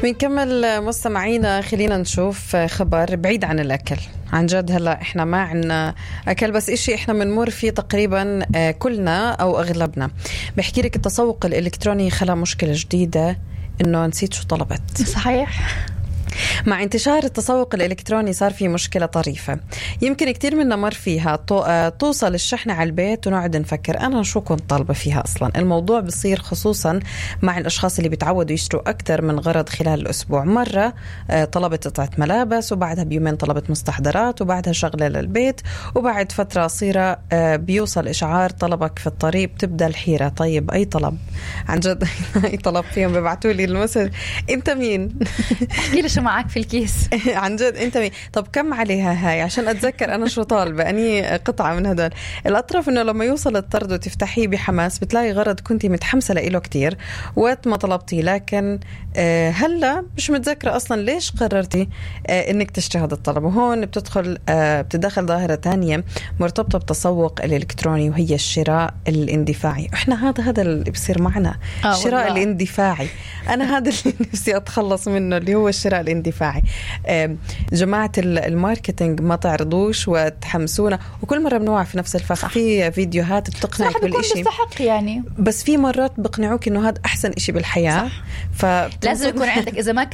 بنكمل مستمعينا. خلينا نشوف خبر بعيد عن الأكل. عن جد هلأ إحنا ما عنا أكل، بس إشي إحنا منمر فيه تقريبا كلنا أو أغلبنا. بحكي لك التسوق الإلكتروني خلق مشكلة جديدة، إنه نسيت شو طلبت. صحيح. مع انتشار التسوق الإلكتروني صار في مشكلة طريفة يمكن كتير منا مر فيها. توصل الشحنة على البيت ونقعد نفكر أنا شو كنت طالبة فيها أصلا. الموضوع بصير خصوصا مع الأشخاص اللي بيتعودوا يشتروا أكتر من غرض خلال الأسبوع. مرة طلبت قطعة ملابس، وبعدها بيومين طلبت مستحضرات، وبعدها شغلة للبيت، وبعد فترة قصيرة بيوصل إشعار طلبك في الطريق. بتبدأ الحيرة، طيب أي طلب؟ عن جد أي طلب فيهم؟ بيبعتوا لي المسج أنت مين؟ احكي لي شو معك في الكيس. عن جد أنت مين؟ طب كم عليها هاي عشان أتذكر أنا شو طالبة، أني قطعة من هدول. الأطرف إنه لما يوصل الطرد وتفتحيه بحماس بتلاقي غرض كنتي متحمسة لإله كتير وقت ما طلبتيه، لكن هلا مش متذكرة أصلا ليش قررتي إنك تشتري هذا الطلب. وهون بتدخل ظاهرة تانية مرتبطة بالتسوق الإلكتروني، وهي الشراء الاندفاعي. إحنا هذا اللي بصير معنا، الشراء الاندفاعي. أنا هذا اللي نفسي أتخلص منه، اللي هو الشراء الاندفاعي. جماعة الماركتينج ما تعرضوش وتحمسونا، وكل مرة بنوع في نفس الفخ. في فيديوهات بتقنعك بالإشي يعني، بس في مرات بقنعوك إنه هذا أحسن إشي بالحياة. لازم يكون عندك، إذا ما كان